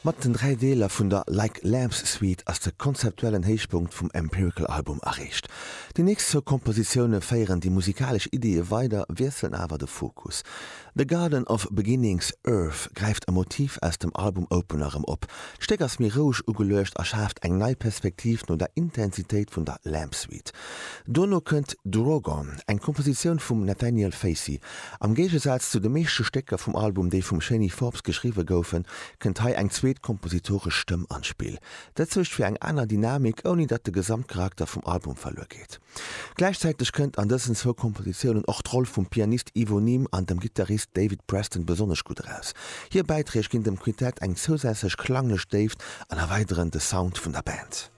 Mat den 3 Deeler vun der Like Lambs Suite ass de konzeptuellen Héichpunkt vum Empirical Album erreecht. Déi nächst zwou Kompositioune féieren déi musikalesch Ideeë weider, wiesselen awer de Fokus. The Garden of Beginnings, Earth gräift e Motiv aus dem Album-Opener erëm op. D'Stéck ass méi roueg ugeluecht a schaaft eng nei Perspektiv no der Intensitéit vun der Lamb Suite. Dono kënnt Drogon, eng Kompositioun vum Nathaniel Facey. Am Géigesaz zu de meeschte Stécker vum Album, déi vum Shani Forbes geschriwwe goufen, kënnt hei eng zweet kompositoresch Stëmm an d'Spill. Dat suergt fir eng aner Dynamik, ouni datt de Gesamtcharakter vum Album verluer geet. Gläichzäiteg kënnt an dësen zwou Kompositiounen och d'Roll vum Pianist Ivo Neame an dem Gittarist David Preston besonnesch gutt eraus. Hir Bäiträg ginn dem Quintett eng zousätzlech klanglech Déift an erweideren de Sound vun der Band.